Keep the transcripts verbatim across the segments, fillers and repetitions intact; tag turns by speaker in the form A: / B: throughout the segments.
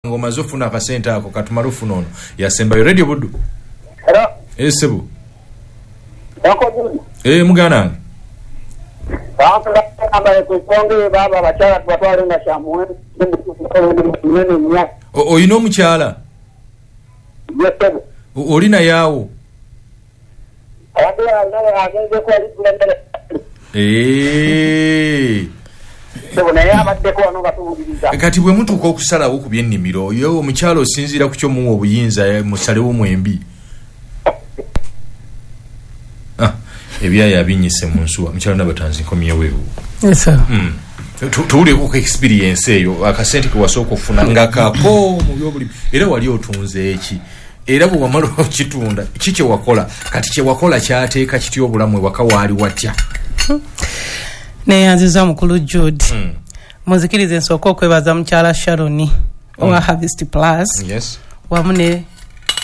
A: Ng'omaze ofuna akasente ako, katumale ofuna ono yasembayo. Radio Buddu.
B: Hello.
A: Eh, sebo.
B: Uncle Judy.
A: Eh, muganda wange.
B: Baba ku nsonga baba abakyala tubatwale nga kyamuwendo munene nnyo.
A: O- oyina omukyala?
B: Yes, sebo.
A: O- oli naye awo?
B: Abadde alala agenzeko ali kulembere.
A: Eh.
B: Sebo, naye abaddeko wano nga tuwuliriza.
A: Kati bwe mutuuka okusalawo ku byennimiro, ye omukyala osinziira ku kyomuwa obuyinza, eh, musalewo mwembi? Ah, ebyayo abinyise mu nsuwa. Mukyala Nabatanzi, nkomyewo ewo.
C: Yes, sir.
A: Mm. Tu- tuwulireko ku experience eyo, akasente ke wasooka okufuna nga kako mu byobulimi, era wali otunze eki, era bwe wamala okitunda ki kye wakola? Kati kye wakola kyateeka kitya obulamu ewaka? Waali watya?
C: Neyanziza, mukulu Jude.
A: Mm.
C: Muzikirize nsooka okwebaza mukyala Sharoni owa Harvest Plus
A: yes
C: wamu ne,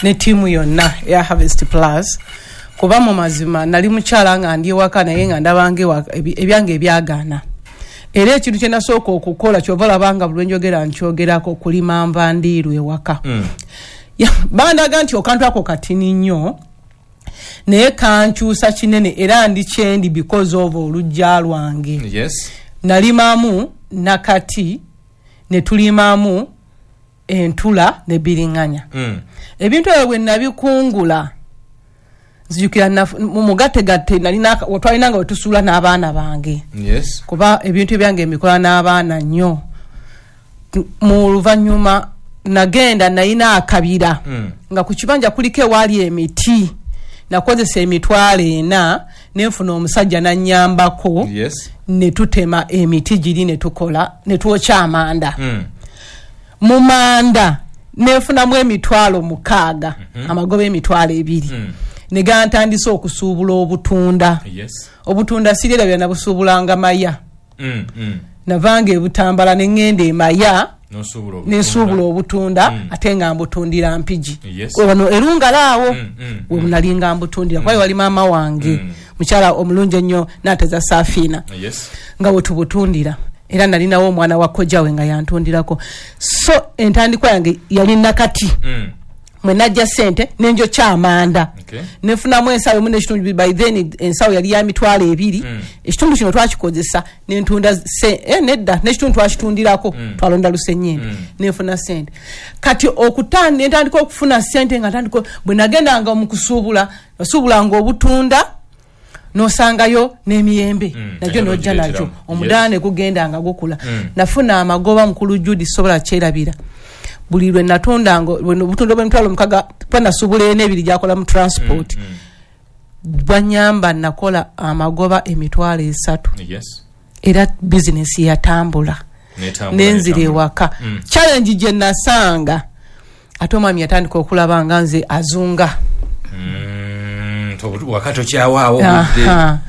C: ne ttiimu yonna eya Harvest Plus, kuba mu mazima nali mukyala nga ndi ewaka, naye nga ndabanga ewaka ebi- ebyange ebyagaana. Era ekintu kye nasooka okukola, kyova olabanga buli lwenjogera nkyogerako, kulima nva ndiirwa ewaka.
A: Mm.
C: Ya, bandaga nti okantu ako katini nnyo, naye kankyusa kinene, era ndi kyendi because of olujja lwange.
A: Yes
C: nalimamu nakati, ne tulimamu entula ne biriŋŋanya.
A: Mm.
C: Ebintu ebyo bwe nabikungula, nzijukira naf- mu mugattegatte nalina, twalinanga we tusuula n'abaana bange,
A: yes
C: kuba ebintu ebyange mbikola n'abaana nnyo. Mu luvannyuma nagenda nalina akabira
A: Mm.
C: nga ku kibanja kuliko ewaali emiti. Nakozesa emitwalo ena, nenfuna omusajja nanyambako,
A: yes
C: ne tutema emiti giri, ne tukola, ne twokya amanda.
A: Mm.
C: Mu manda nenfunamu emitwalo mukaaga, amagoba emitwalo ebiri,
A: Mm.
C: ne gantandisa okusuubula obutunda.
A: Yes
C: obutunda sirerabya, nabusuubulanga Maya.
A: Mm. Mm.
C: Navanga ebutambala ne ŋŋenda emaya
A: nosuubula obutunda.
C: Nensuubula obutunda,
A: Mm.
C: ate nga mbutundira Mpigi.
A: Yes.
C: Wano erungala awo
A: Mm, mm,
C: we nalinga mbutundira, kuba wali maama wange,
A: Mm.
C: mukyala omulungi ennyo, Nateza Safiina,
A: yes
C: nga wetubutundira. Era nalinawo omwana wa kojjawe nga yantundirako. So entandikwa yange yali nakati
A: Mm.
C: mwe najja sente nenjokya amanda,
A: Okay.
C: nefunamu ensawo emu n'ekitundu. By then ensawo yali ya mitwalo ebiri.
A: Mm.
C: Ekitundu kino twakikozesa nentunda se- eh, nedda, n'ekitundu twakitundirako.
A: Mm.
C: Twalonda lusenyende,
A: Mm.
C: nenfuna sente. Kati okuta nentandika okufuna sente nga ntandika, bwe nagendanga mu kusuubula, nasuubulanga obutunda, nosangayo n'emiyembe,
A: Mm.
C: nagyo
A: Nayo
C: nojja
A: n'ogireeteramu.
C: nagyo, omudaala ne gugenda nga gukula.
A: Mm.
C: Nafuna amagoba, mukulu Judi, sobola kyerabira. Buli lwe natundanga obutunda bw'emitwalo mukaga, kuba nasuubula ena, ebiri gyakola mu transport,
A: Mm.
C: bwanyamba nakola amagoba emitwalo esatu.
A: Yes
C: era bizinesi yatambula,
A: Netambula,
C: nenzira
A: netambula.
C: ewaka.
A: Mm.
C: Challenge gye nasanga, ate omwami yatandika okulaba nga nze azunga.
A: Mm, to- waka tokyawaawo obudde.
C: Aha.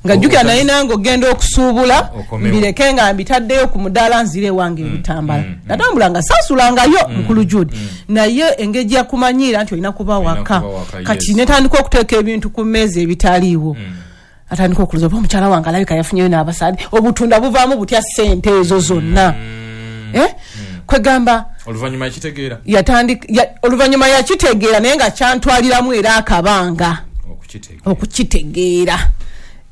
C: Nga jjukira
A: Obuta-
C: naye nange ogenda okusuubula,
A: Okomewo.
C: mbireke nga mbitaddeyo ku mudaala, nzire ewange ebutambala.
A: mm, mm.
C: Natambula nga saasulangayo, mukulu Jude, naye engeri yakumanyiira nti olina kuba
A: Olina
C: waka.
A: kuba waka,
C: Kati
A: yes.
C: netandika okuteeka ebintu ku mmeeza ebitaliiwo.
A: Mm.
C: Atandika okuluza oba omukyala wange alabika yafunyeyo n'abasaadi, obutunda buvaamu butya ssente ezo zonna? Eh? Kwegamba
A: Oluvannyuma yakitegeera?
C: Yatandika ya, oluvannyuma yakitegeera, naye nga kyantwaliramu era akabanga
A: okukitegeera.
C: Okukitegeera.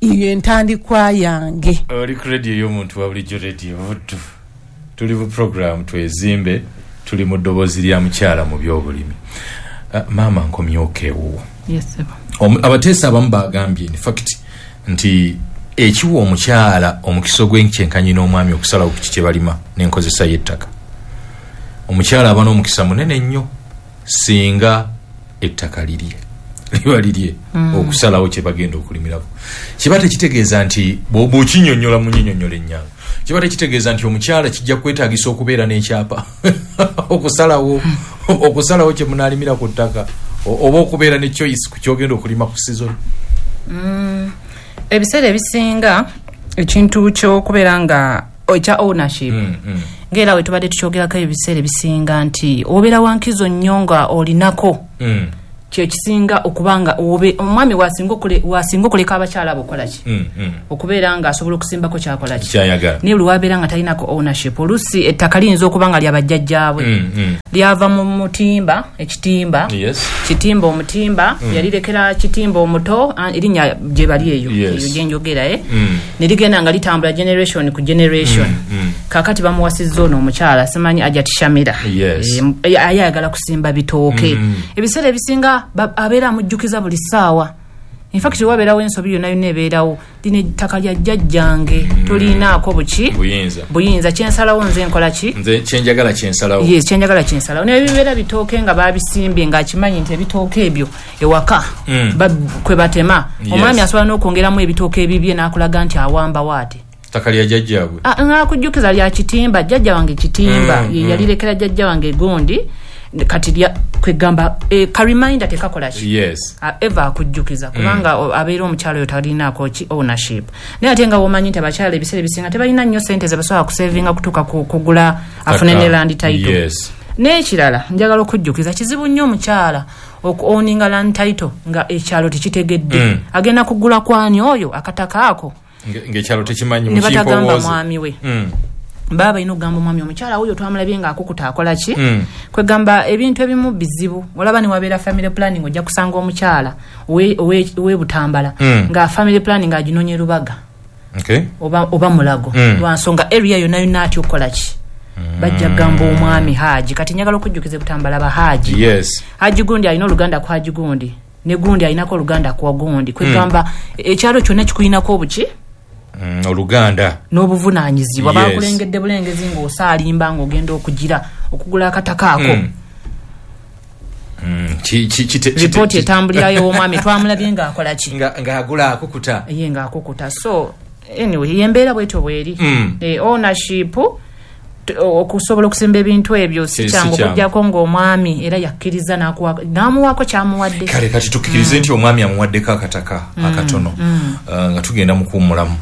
C: Iyo entandikwa yange.
A: Oli ku rediyo y'omuntu wa bulijjo, Rediyo Buddu. Tuli mu program Twezimbe, tuli mu ddoboozi lya mukyala mu byobulimi. Uh, maama nkomyoka ewuwo.
D: Yes, sir.
A: Omu- abateesa abamu bagambye in fact nti ekiwa omukyala omukisa ogw'enkyenkanyi n'omwami okusalawo ku kiki balima n'enkozesa y'ettaka, omukyala aba n'omukisa munene nnyo singa ettaka lirye liba lirye mm. okusalawo kye bagenda okulimirako. Kiba tekitegeeza nti bw'oba okinyonnyola mu nyinyonnyola ennyangu, kiba tekitegeeza nti omukyala kijja kwetaagisa okubeera n'ekyapa okusalawo okusalawo kye munaalimira ku ttaka, o- oba okubeera ne choice ku kyogenda okulima ku season.
D: Ebiseera ebisinga ekintu kyokubeera nga ekya ownership,
A: Mm, mm.
D: ngaera we tubadde tukyogerako ebiseera ebisinga nti obeera wankizo nnyo nga olinako
A: Mm.
D: Kyekisinga okubanga obe omwami wasinga okule wasinga okuleka abakyala abo kola ki
A: mm, mm.
D: Okubeera nga asobola okusimbako kyakola ki
A: kyayagala,
D: naye buli wabeera nga talinako ownership, oluusi ettaka liyinza okuba nga lyabajjajjaabwe
A: mm, mm.
D: lyava mu mutimba, ekitimba
A: yes.
D: Kitimba omutimba
A: mm.
D: yalirekera kitimba omuto, erinnya gye bali eyo
A: yes.
D: Eyo gyenjogera eh?
A: mm.
D: Ne ligenda nga litambula generation ku generation
A: mm, mm.
D: Kakati bamuwasizza ono omukyala simanyi Ajati Shamira
A: yes.
D: E, ayagala kusimba bitooke
A: mm.
D: Ebiseera ebisinga abeera amujjukiza buli ssaawa. In fact wabeerawo ensobi yonna yonna ebeerawo, lino ettaka lya jjajjange
A: mm.
D: tolinaako buki
A: buyinza,
D: buyinza kyensalawo nze nkola ki,
A: nze kyenjagala kyensalawo,
D: yes, kyenjagala kyensalawo. Naye bibeera bitooke nga babisimbye ng'akimanyi nti ebitooke ebyo ewaka
A: mm.
D: kwe batema
A: yes.
D: Omwami asobola n'okwongeramu ebitooke ebibye n'akulaga nti awambawo ate
A: ttaka lya jjajjaabwe
D: ng'akujjukiza lya kitimba, jjajja wange kitimba
A: mm.
D: ye yalirekera jjajja wange gundi kati lya kwegamba e, ka reminder tekakola ki
A: yes.
D: Eva akujjukiza kubanga
A: mm.
D: abeera omukyalo oyo talinaako ki ownership. Naye ate nga womanyi nti abakyala ebiseera ebisinga tebalina nnyo ssente ze basobola kusevinga kutuuka kugula afune ne land title
A: yes.
D: N'ekirala njagala okujjukiza kizibu nnyo omukyala okuowninga land title nga ekyalo tekitegedde
A: mm.
D: Agenda kugula kwani oyo akataka ako
A: ng'ekyalo tekimanyi
D: ne batagamba mwami we
A: mm.
D: Baba ino gamba omwami omukyala oyo twamulabye nga akukuta akola ki
A: mm.
D: Kwegamba ebintu ebimu bizibu. Olaba ne wabeera family planning ojja kusanga omukyala owe Butambala
A: mm.
D: nga family planning aginonye Rubaga
A: okay.
D: oba, oba Mulago
A: mm.
D: lwansonga area yonna yonna atya okukola ki
A: mm.
D: Bajja gamba omwami Haji kati njagala okujjukiza Butambala ba Haji
A: yes.
D: Haji gundi alina oluganda ku Haji gundi ne gundi alinako oluganda ku gundi kwegamba
A: mm.
D: ekyalo kyonna kikuyinako obuki
A: Mm, oluganda
D: n'obuvunaanyizibwa
A: yes.
D: Bakulengedde bulengezi ng'osaalimba ng'ogenda okugira okugula akataka ako
A: mm. Mm, ki, ki, ki,
D: ripooti etambulirayo omwami twamulabye ng'akola ki
A: ng'agula akukuta
D: ye ng'akukuta. So anyway embeera bwetyo bweri
A: mm.
D: E, ownership okusobola okusimba ebintu ebyo si kyangu okuggyako ng'omwami era yakkiriza n'amuwaako kyamuwadde.
A: Kale kati tukkirize
D: mm.
A: nti omwami amuwaddeko akataka
D: mm.
A: akatono
D: mm.
A: uh, nga tugenda mu kuwummulamu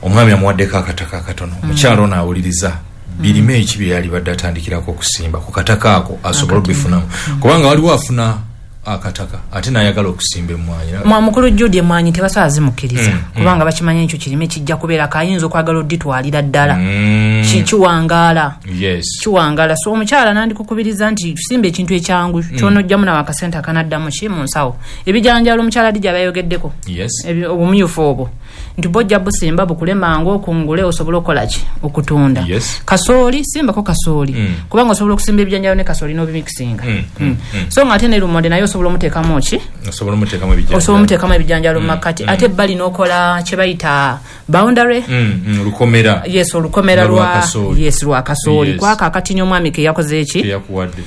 A: omwami amuwaddeko akataka akatono omukyala ono awuliriza birime eki bye yalibadde atandikirako okusimba ku kataka ako asobole okubifunamu kubanga waliwo afuna akataka ate n'ayagala okusimba emmwanyi.
D: Mukulu Jude emmwanyi tebasobola zimukkiriza
A: mm,
D: kubanga
A: mm.
D: bakimanyi ekyo kirime kijja kubeera kayinza okwagala odditwalira ddala
A: mm.
D: Kiwangaala
A: yes.
D: Kiwangaala. So omukyala nandikukubiriza nti tusimba ekintu ekyangu
A: mm.
D: ky'onojjamu nawe akasente akanaddamu ki mu nsawo. Ebijanjaalo omukyala Dija bayogeddeko
A: yes.
D: Obumyufu obwo nti bw'ojja busimba bukule mangu okungule osobole okukola ki okutunda
A: yes.
D: Kasooli simbako kasooli
A: mm.
D: kubanga osobola okusimba ebijanjaalo ne kasooli n'obimikisinga
A: mm.
D: mm.
A: mm.
D: So nga ate ne lumonde naye osobola omuteekamu ki
A: osobola omuteekamu ebijanjaalo
D: osobola omuteekamu ebijanjaalo mu makkati
A: mm.
D: Ate ebbali n'okola kye bayita boundary
A: mm. mm. olukomera
D: yes olukomera lwa yes lwa kasooli
A: yes.
D: Kwako akatini omwami ke yakoze eki
A: ke yakuwadde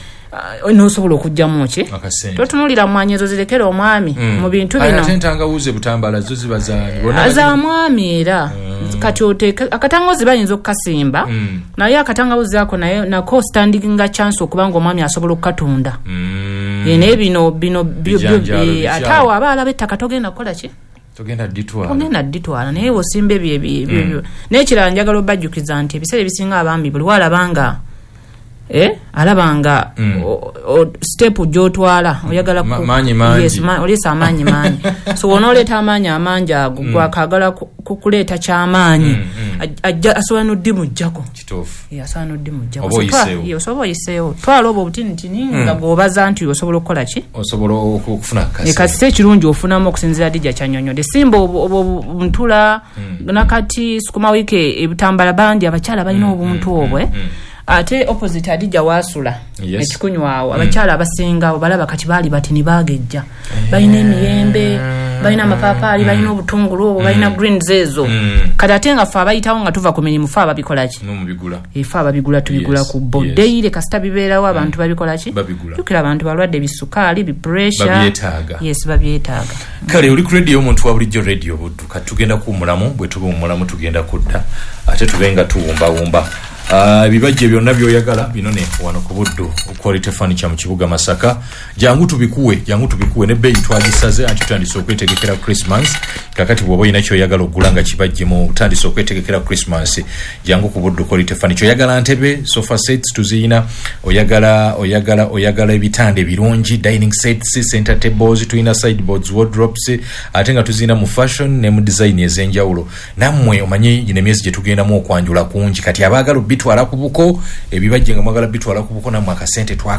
D: Uh, n'osobola okuggyamu ki totunuulira mmwanyi ezo zirekere omwami
A: mm.
D: mu bintu bino
A: ate entangawuzi Butambala zo ziba zaani bonna
D: za mwami era
A: mm.
D: Kati oteeke akatangawuzi bayinza okukasimba
A: mm.
D: naye akatangawuzi ako naye nako standing nga chance okubanga omwami asobola okukatunda
A: mm.
D: E, naye bino bino
A: Bijanjaalo,
D: ate awo aba alaba ettaka togenda kukola ki
A: togenda dditwala
D: ogenda dditwala naye osimba ebyo ebyo
A: mm.
D: N'ekirala njagala obajjukiza nti ebiseera ebisinga abaami buli walabanga Eh, alabanga
A: mm.
D: step gy'otwala oyagala
A: Ma, maanyi mangi
D: yes, ma, oleesa amaanyi mangi so wonooleeta amaanyi amangi ago
A: mm.
D: gwakagala kukuleeta kyamaanyi
A: mm, mm.
D: ajja asobola n'oddimugjako
A: kituufu
D: yeah, asobola n'oddimugjako
A: oba oyiseewo
D: osobola oyiseewo twala obwo obutinitini
A: mm.
D: nga gw'obaza nti osobola okukola ki
A: osobola okufuna
D: akasente kasise ekirungi ofunamu okusinziira Dija kyannyonnyodde simba obwo ntula
A: mm.
D: nakati sukuma wiiki ebutambala bandi abakyala balina
A: mm,
D: obuntu
A: mm,
D: obwe
A: mm, mm.
D: Ate opposite Adija wasula
A: yes.
D: Ekikunywawo abakyala abasinga balaba kati baali bati ne bagejja balina emiyembe balina amapaapaali balina obutungulu obwo balina greens ezo
A: Mm.
D: Kati ate nga ffe abayitawo nga tuva ku mirimu fe ababikola ki
A: n'omubigula
D: efe ababigula tubigula
A: Yes,
D: ku bo
A: yes.
D: Deire kasita bibeerawo abantu babikola ki
A: Babigula.
D: Jjukira abantu balwadde bisukaali bipuresha
A: Babyetaaga.
D: yes babyetaaga
A: Kale oli ku radio omuntu wa bulijjo radio Buddu kati tugenda kuwummulamu bwe tuba wumulamu tugenda kudda ate tube nga tuwumbawumba. Ah, ebibajje byonna byoyagala binone wano ku Buddu Quality Furniture mu kibuga Masaka. Jangu tubikuwe, jangu tubikuwe nebbeeyi twagisaze, anti tutandise okwetegekera Christmas. Kakati bw'oba olina kyoyagala okugula nga kibajje mu utandise okwetegekera Christmas, jangu ku Buddu Quality Furniture. Oyagala ntebe, sofa sets tuziyina, oyagala oyagala oyagala ebitanda ebirungi, dining sets, center tables tulina, sideboards, wardrobes, ate nga tuziyina mu fashion ne mu design ez'enjawulo. Nammwe omanyi gino emyezi gye tugendamu okwanjula kungi, kati abaagala obitwala ku buko, ebibajje nga mwagala bitwala ku buko, nammwe akasente.